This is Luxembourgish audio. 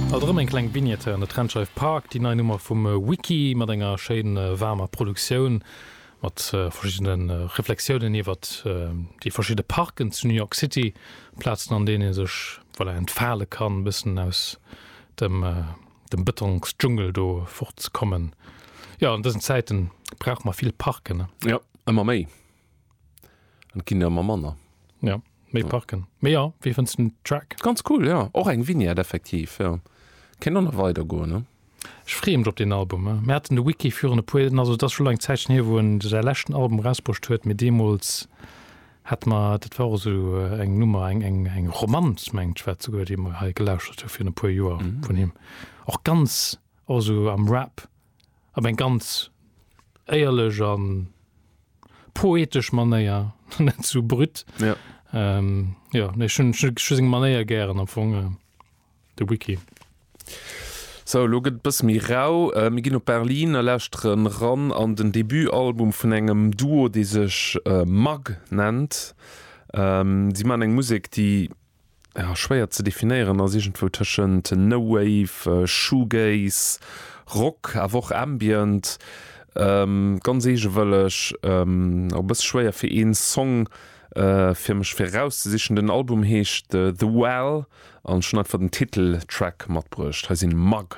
Alt erëm eng kleng Vignette hei an der Trendscheif Park, déi nei Nummer vum Wiki mat enger schéin waarmer Produktioun, mat verschiddene Reflexiounen iwwert déi verschidde Parken zu New York City, Plazen an deenen ee sech, voilà, entfale kann, e bëssen aus dem dem Bëtongsdschungel do fort ze kommen. Jo, an dësen Zäiten brauche mer vill Parken, ne? Jo, ëmmer méi. An et ginn der ëmmer manner. Jo, méi Parken. Mee jo, wéi fënns de den Track? Ganz cool, jo. Och eng Vignette effektiv, jo. Kéint och nach weider goen, ne? Ech freeë mech op deen Album. Mir haten de Wiki virun e puer, also et ass scho eng Zäitchen hier, wou en säi leschten Album erausbruecht huet, mee deemools hate mer, dat war och esou eng Nummer, eng, eng, eng Romanz, mengt ech war et souguer, déi mer hei gelauschtert hu virun e puer Joer vun him. Och ganz, och esou am Rap, op eng ganz éierlech a poetesch Manéier, net sou brut. Ja. Jo, nee, ech hunn, ech hu seng Manéier gären am Fong. De Wiki. Sou, elo gëtt et bësse méi rau. Mir ginn op Berlin a lauschteren ran an den Debutalbum vun engem Duo, dee sech Mug nennt. Si maachen eng Musek, déi, ja, schwéier ze definéieren ass, iergendwou tëschent No Wave, Shoegaze, Rock, awer och Ambient. Ganz eegewëlleg, och e bësse schwéier fir een Song fir mech fir erauszesichen. Den Album heescht The Well an ech hunn einfach den Titeltrack matbruecht. Hei sinn Mug.